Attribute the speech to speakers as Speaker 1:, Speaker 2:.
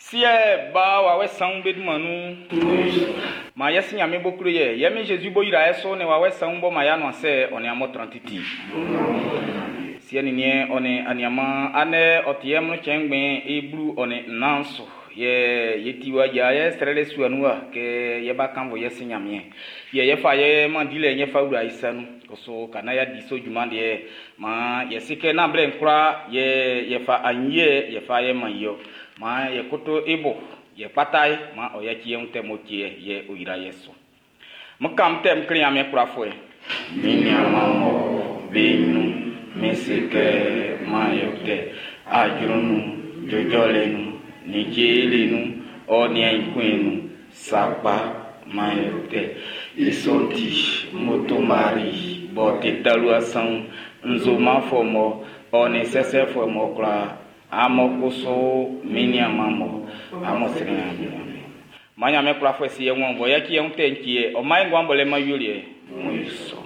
Speaker 1: Siɛ, Ba, Wawɛ Sanwun be dunman nun. Maan ye Si Nyanmiɛn b'ɔ klo ye, ye Min Jésus b'ɔ yra ye su nin Wawɛ Sanwun b'ɔ man ye anuansɛ ɔ nin amun tran titi. Siɛ nin niɛn ɔ nin aniaanman, andɛ ɔ ti amlin cɛn ngbɛn i 14 su yɛ ye ti wa yia ye srɛlɛ sua nun wa kɛ ye ba kannvun ye Si Nyanmiɛn. Yɛ ye fa ye man dilɛ'n ye fa wla i sa nun. Kusu ka naan y'a di sɔ junman liɛ'n, maan ye si kɛ nán blɛ'n kwlaa yɛ ye fa aɲinyiɛ ye fa ye man i ɔ. Maan ye koto i bo, ye kpata i, maan ɔ yaci ye wun tɛ m'ɔ ti ye, yɛ ɔ yra ye su. M kan tɛ m kle Ɲanmiɛn kwlafuɛ. Min niaanman mɔ be ɲrun, min se kɛ maan yo tɛ ajru nun, jɔjɔlɛ nun, nin jeli nun, ɔ nin aɲinkuin nun, sakpa maan yo tɛ. I sɔ'n ti, moto mari b'ɔ ti talua sanwun, nzomanfuɛ mɔ ɔ nin sɛsɛfuɛ mɔ kwlaa, amun kusu min niaanman mɔ amun srɛ Ɲanmiɛn. Maan Ɲanmiɛn kwlafuɛ si ye wun bɔ yaci ye wun tɛ'n cɛ ye, ɔ man e nguan b'ɔ lɛ-man awieliɛ. Mun yo sɔ.